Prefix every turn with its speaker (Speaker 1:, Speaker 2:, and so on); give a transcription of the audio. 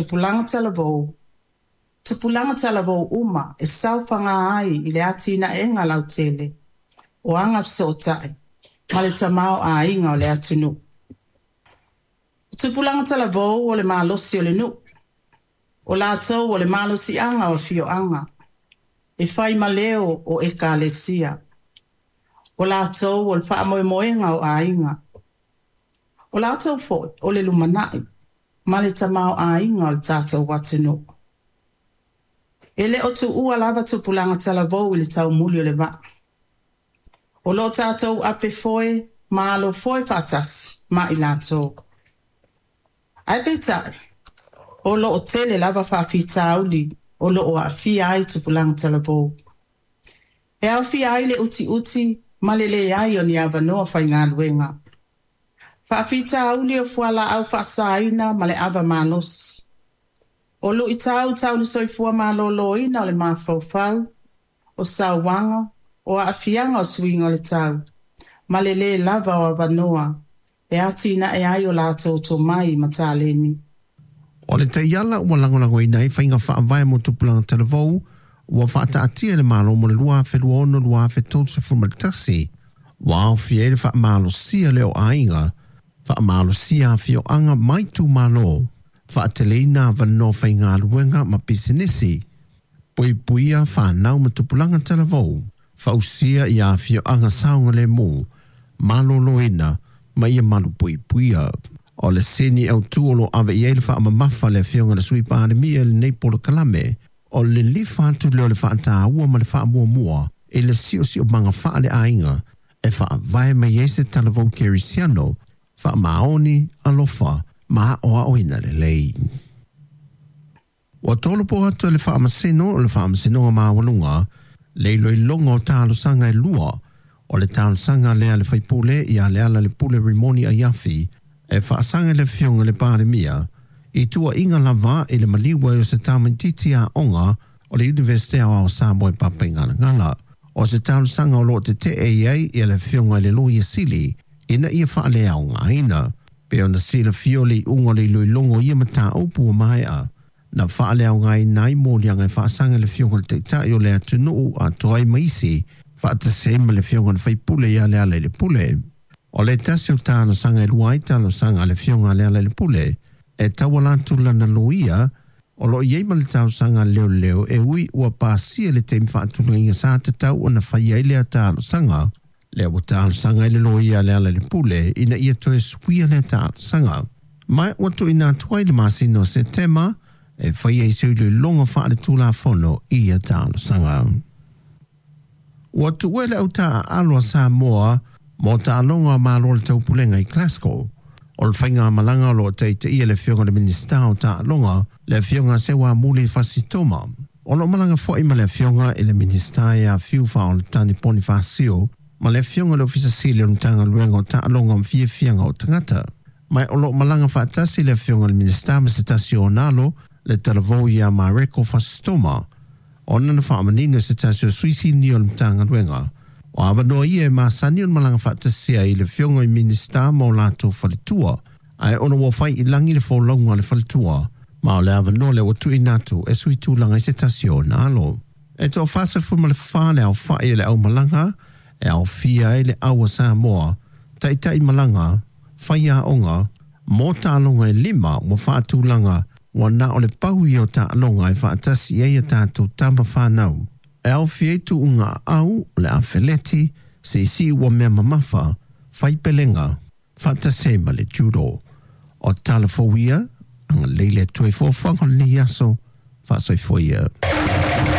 Speaker 1: Tupulaga talavou, tupulaga talavou uma e saofaga ai i le atinaega lautele o agafesootai ma le tamaoaiga o le atunuu. O tupulaga talavou o le malosi o le nuu, o latou o le malosiaga o afioaga, e fai ma leo o ekalesia. O latou o le faamoemoega o aiga. O latou foi o le lumanai ma le tamaoaiga o le tatou atunuu. E le o tuua lava tupulaga talavou i le taumuli o le vaa. O lo o tatou ape foe ma alo foe faatasi ma i latou. Ae peitai, o lo o tele lava faafitauli o lo o aafia ai tupulaga talavou. E aofia ai le utiuti ma le leai o ni avanoa faigaluega. Faafitauli o fualaau faasaina ma le ava malosi. O luitau tau le soifua maloloina o le mafaufau, o sauaga, o aafiaga o suiga o le tau, ma le lē lava o avanoa e atinae ai o latou tomai ma taleni.
Speaker 2: O le taiala ua lagolagoina ai faiga faavae mo tupulaga talavou ua faataatia e le Malo mo le 2026-2031, ua aofia ai le faamalosia lea o aiga, faamalosia afioaga ma itumalo, faateleina avanoa faigaluega ma pisinisi, puipuia fanau ma tupulaga talavou, fausia i afioaga saogalemu, maloloina ma ia malupuipuia. O le sini autu o lo o ave i ai le faamamafa a le Afioga i le Sui Palemia i lenei polokalame, o le lilifa atu lea o le faataua ma le faamuamua i le siosiomaga faaleaiga e faavae mai ai se talavou kerisiano faamaoni, alofa ma aoaoina lelei. Ua tolopo atu e le Faamasino o le Faamasinoga Maualuga le iloiloga o talosaga e lua, o le talosaga lea a le faipule ia Lealailepule Rimoni Aiafi e faasaga i le Afioga i le Palemia i tuuaiga lava i le maliu ai o se tamaitiiti aoga o le Iunivesite Aoao o Samoa i Papaigalagala. O se talosaga o lo o tetee i ai le Afioga i le Loia Sili ina ia faaleaogaina. Pei ona silafia o le iuga o le iloiloga o ia mataupu ua maea, na faaleaogaina ai moliaga e faasaga i le Afioga i le Taitai o le atunuu atoa ai ma isi, faatasi ai ma le Afioga i le Faipule ia Lealailepule. O le tasi o talosaga e lua ai talosaga a le Afioga a Lealailepule e tauala atu lana loia, o lo o i ai ma le talosaga a leoleo e ui ua pasia le taimi faatulagaina sa tatau ona fai ai lea talosaga, lea ua talosaga ai le loia a Lealailepule ina ia toe suia lea talosaga. Ma ua tuuina atu ai le masina o Setema e fai ai se iloiloga faaletulafono i ia talosaga. Ua tuua e le Au Taaalo a Samoa mo taaloga a Malo o le Taupulega i Glasgow. O le faigamalaga o lo o taitaia e le Afioga i le Minisita o Taaloga, le Afioga Seuamuli Fasi Toma. O lo o malaga foi ma le Afioga i le Minisita ia Fiu Faaoletani Ponifasio ma le Afioga i le Ofisa Sili o le Matagaluega o Taaloga ma Fiafiaga o Tagata. Ma o lo o malaga faatasi le Afioga i le Minisita ma se tasi o ona alo, le talavou ia Mareko Fasitoma, ona na faamanino e se tasi o sui sinia o le Matagaluega, o avanoa ia e masani ona malaga faatasi ai le Afioga i Minisita ma o latou faletua, ae ona ua fai i lagi le folauga a le faletua, ma o le avanoa lea ua tuuina atu e sui tulaga i se tasi o ona alo. E toa-44 le aofai o le aumalaga e aofia ai le au a Samoa, taitai malaga, faiaoga, mo taaloga e lima ua faatulaga ua na o le pau ia o taaloga e faatasi ai a tatou tama fanau. E aofia ai tuuga aau, o le afeleti, siisii uamea mamafa, faipelega, faatasi ai ma le judo. O tala fou ia, agalelei le Atua i foafoaga o lenei aso, faasoifua ia.